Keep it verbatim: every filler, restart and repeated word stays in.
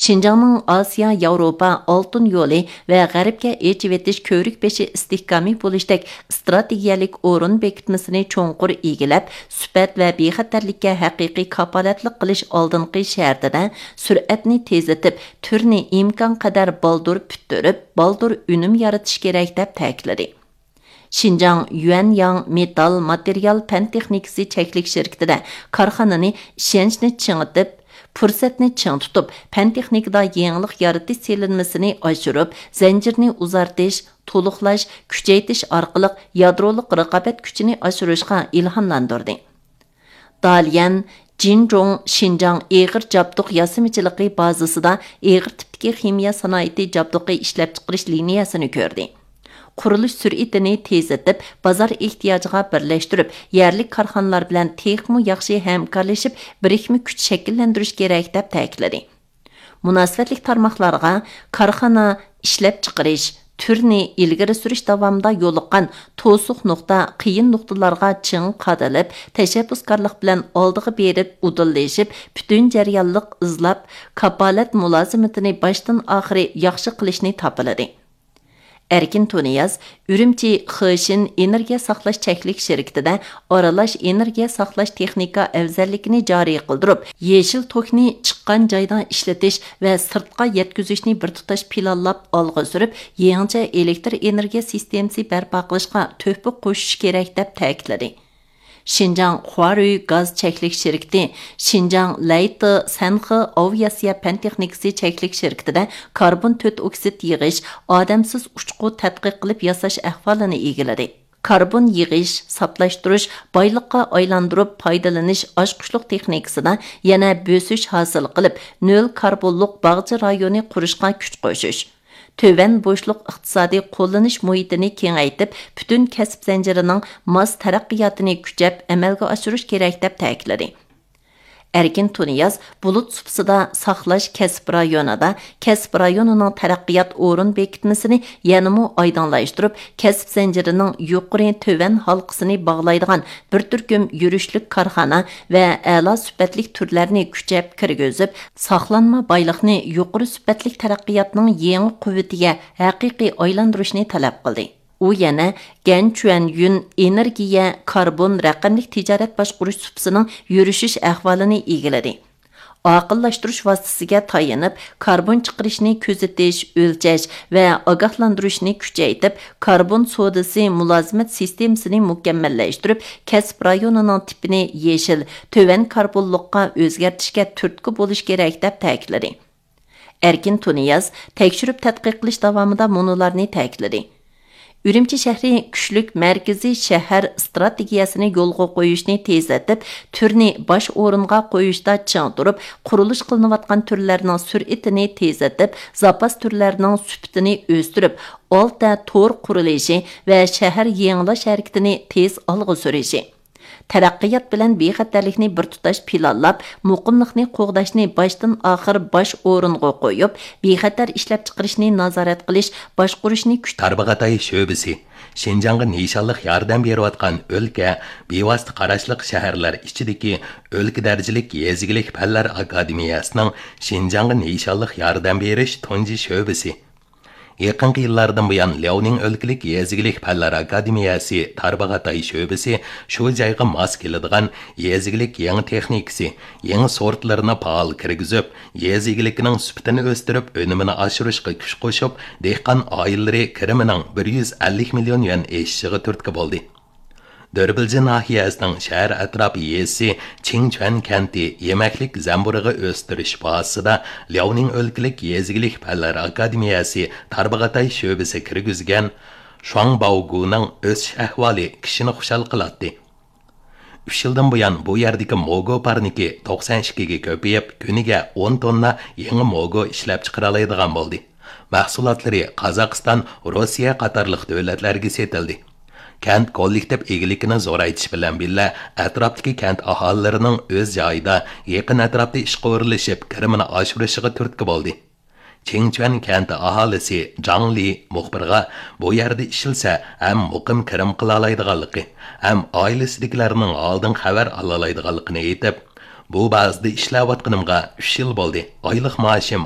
شىنجاڭنىڭ ئاسىيا ياۋروپا ئالتۇن يولى ۋە غەربكە ئېچىۋېتىش كۆۋرۈك بېشى ئىستىھكامى بولۇشتەك ئىستراتېگىيەلىك ئورۇن بېكىتمىسىنى چوڭقۇر ئىگىلەپ، سۈپەت ۋە بىخەتەرلىككە ھەقىقىي كاپالەتلىك قىلىش ئالدىنقى شەرتىدە سۈرئەتنى تېزلىتىپ، تۈرنى ئىمكانقەدەر بالدۇر پۈتتۈرۈپ، بالدۇر ئۈنۈم يارىتىش كېرەك، دەپ تەكىتلىدى. شىنجاڭ يۈەنياڭ مېتال ماتېرىيال پەن تېخنىكىسى چەكلىك شىركىتىدە كارخانىنى ئىشەنچنى چىڭىتىپ، پۇرسەتنى چىڭ تۇتۇپ، پەن تېخنىكىدا يېڭىلىق يارىتىش سېلىنمىسىنى ئاشۇرۇپ، زەنجىرنى ئۇزارتىش، تولۇقلاش، كۈچەيتىش ئارقىلىق يادرولۇق رىقابەت كۈچىنى ئاشۇرۇشقا ئىلھاملاندۇردى. داليەن جىنجۇڭ شىنجاڭ ئېغىر جابدۇق ياسىمىچىلىقى بازىسىدا ئېغىر تىپتىكى خىمىيە سانائىتى جابدۇقى ئىشلەپچىقىرىش لىنىيەسىنى كۆردى. قۇرۇلۇش سۈرئىتىنى تېزلىتىپ، بازار ئېھتىياجىغا بىرلەشتۈرۈپ، يەرلىك كارخانىلار بىلەن تېخىمۇ ياخشى ھەمكارلىشىپ، بىرىكمە كۈچ شەكىللەندۈرۈش كېرەك، دەپ تەكىتلىدى. مۇناسىۋەتلىك تارماقلارغا كارخانا ئىشلەپچىقىرىش، تۈرنى ئىلگىرى سۈرۈش داۋامىدا يولۇققان توسۇق نۇقتا، قىيىن نۇقتىلارغا چىڭ قادىلىپ، تەشەببۇسكارلىق بىلەن ئالدىغا بېرىپ ئۇدۇللىشىپ، پۈتۈن جەريانلىق ئىزلاپ، كاپالەت مۇلازىمىتىنى باشتىن ئاخىرى ياخشى قىلىشنى تاپىلىدى. ئەركىن تۇنىياز ئۈرۈمچى خېشىن ئېنېرگىيە ساقلاش چەكلىك شىركىتىدە ئارىلاش ئېنېرگىيە ساقلاش تېخنىكا ئەۋزەللىكىنى جارى قىلدۇرۇپ، يېشىل توكنى چىققان جايدا ئىشلىتىش ۋە سىرتقا يەتكۈزۈشنى بىر تۇتاش پىلانلاپ ئالغا سۈرۈپ، يېڭىچە ئېلېكتر ئېنېرگىيە سىستېمىسى بەرپا قىلىشقا تۆھپە قوشۇش كېرەك، دەپ تەكىتلىدى. شىنجاڭ خۇارۈي گاز چەكلىك شىركىتى، شىنجاڭ لەيتې سەنخې ئاۋىئاتسىيە پەن تېخنىكىسى چەكلىك شىركىتىدە كاربون تۆت ئوكسىد يىغىش، ئادەمسىز ئۇچقۇ تەتقىق قىلىپ ياساش ئەھۋالىنى ئىگىلىدى. كاربون يىغىش، ساپلاشتۇرۇش، بايلىققا ئايلاندۇرۇپ پايدىلىنىش ئاچقۇچلۇق تېخنىكىسىدا يەنە بۆسۈش ھاسىل قىلىپ، نۆل كاربونلۇق باغچە رايونى قۇرۇشقا كۈچ قوشۇش، تۆۋەن بوشلۇق ئىقتىسادىي قوللىنىش مۇھىتىنى كېڭەيتىپ، پۈتۈن كەسىپ زەنجىرىنىڭ ماس تەرەققىياتىنى كۈچەپ ئەمەلگە ئاشۇرۇش كېرەك، دەپ تەكىتلىدى. ئەركىن تۇنىياز بۇلۇت سۇپىسىدا ساقلاش كەسىپ رايونىدا كەسىپ رايونىنىڭ تەرەققىيات ئورۇن بېكىتمىسىنى يەنىمۇ ئايدىڭلاشتۇرۇپ، كەسىپ زەنجىرىنىڭ يۇقىرى تۆۋەن ھالقىسىنى باغلايدىغان بىر تۈركۈم يۈرۈشلۈك كارخانا ۋە ئەلا سۈپەتلىك تۈرلەرنى كۈچەپ كىرگۈزۈپ، ساقلانما بايلىقنى يۇقىرى سۈپەتلىك تەرەققىياتنىڭ يېڭى قۇۋۋىتىگە ھەقىقىي ئايلاندۇرۇشنى تەلەپ قىلدى. ئۇ يەنە گەنچۈەنيۈن ئېنېرگىيە، كاربون، رەقەملىك تىجارەت باشقۇرۇش سۇپىسىنىڭ يۈرۈشۈش ئەھۋالىنى ئىگىلىدى. ئاقىللاشتۇرۇش ۋاسىتىسىگە تايىنىپ، كاربون چىقىرىشنى كۆزىتىش، ئۆلچەش ۋە ئاگاھلاندۇرۇشنى كۈچەيتىپ، كاربون سودىسى مۇلازىمەت سىستېمىسىنى مۇكەممەللەشتۈرۈپ، كەسىپ رايونىنىڭ تىپىنى يېشىل، تۆۋەن كاربونلۇققا ئۆزگەرتىشكە تۈرتكە بولۇش كېرەك، دەپ تەكىتلىدى. ئەركىن تۇنىياز تەكشۈرۈپ تەتقىق قىلىش داۋامىدا مۇنۇلارنى تەكىتلىدى: ئۈرۈمچى شەھىرى كۈچلۈك مەركىزىي شەھەر ئىستراتېگىيەسىنى يولغا قويۇشنى تېزلىتىپ، تۈرنى باش ئورۇنغا قويۇشتا چىڭ تۇرۇپ، قۇرۇلۇش قىلىنىۋاتقان تۈرلەرنىڭ سۈرئىتىنى تېزلىتىپ، زاپاس تۈرلەرنىڭ سۈپىتىنى ئۆستۈرۈپ، ئالتە تور قۇرۇلۇشى ۋە شەھەر يېڭىلاش ھەرىكىتىنى تېز ئالغا سۈرۈشى، تەرەققىيات بىلەن بىخەتەرلىكنى بىر تۇتاش پىلانلاپ، مۇقىملىقنى قوغداشنى باشتىن ئاخىر باش ئورۇنغا قويۇپ، بىخەتەر ئىشلەپچىقىرىشنى نازارەت قىلىش، باشقۇرۇشنى كۈچ تارباغاتاي شۆبىسى شىنجاڭغا نىشانلىق ياردەم بېرىۋاتقان ئۆلكە، بىۋاسىتە قاراشلىق شەھەرلەر ئىچىدىكى ئۆلكە دەرىجىلىك يېزا ئىگىلىك پەنلەر ئاكادېمىيەسىنىڭ شىنجاڭغا نىشانلىق ياردەم بېرىش تۇنجى شۆبىسى. يېقىنقى يىللاردىن بۇيان، لياۋنىڭ ئۆلكىلىك يېزا ئىگىلىك پەنلەر ئاكادېمىيەسى تارباغاتاي شۆبىسى شۇ جايغا ماس كېلىدىغان يېزا ئىگىلىك يېڭى تېخنىكىسى، يېڭى سورتلىرىنى پائال كىرگۈزۈپ، يېزا ئىگىلىكىنىڭ سۈپىتىنى ئۆستۈرۈپ، ئۈنۈمىنى ئاشۇرۇشقا كۈچ قوشۇپ، دېھقان ئائىلىلىرى كىرىمىنىڭ بىر يۈز ئەللىك مىليون يۈەن ئېشىشىغا تۈرتكە بولدى. دۆربىلجى ناھىيەسىنىڭ شەھەر ئەتراپى يېزىسى چىڭچۈەن كەنتى يېمەكلىك زەمبۇرۇغى ئۆستۈرۈش بازىسىدا لياۋنىڭ ئۆلكىلىك يېزا ئىگىلىك پەنلەر ئاكادېمىيەسى تارباغاتاي شۆبىسى كىرگۈزگەن شۇاڭباۋگۇنىڭ ئۆسۈش ئەھۋالى كىشىنى خۇشال قىلاتتى. ئۈچ يىلدىن بۇيان، بۇ يەردىكى موگو پارنىكى توقسەن ئىككىگە كۆپىيىپ، كۈنىگە ئون توننا يېڭى موگو ئىشلەپچىقىرالايدىغان بولدى. مەھسۇلاتلىرى قازاقىستان، روسىيە قاتارلىق دۆلەتلەرگە سېتىلدى. كەنت كوللېكتىپ ئىگىلىكىنى زورايتىش بىلەن بىللە، ئەتراپتىكى كەنت ئاھالىلىرىنىڭ ئۆز جايىدا، يېقىن ئەتراپتا ئىشقا ئورۇنلىشىپ، كىرىمىنى ئاشۇرۇشىغا تۈرتكە بولدى. چىڭچۈەن كەنتى ئاھالىسى جاڭ لى مۇخبىرغا، بۇ يەردە ئىشلىسە، ھەم مۇقىم كىرىم قىلالايدىغانلىقى، ھەم ئائىلىسىدىكىلەرنىڭ ھالىدىن خەۋەر ئالالايدىغانلىقىنى ئېيتىپ، بۇ بازىدا ئىشلەۋاتقىنىمغا ئۈچ يىل بولدى. ئايلىق مائاشىم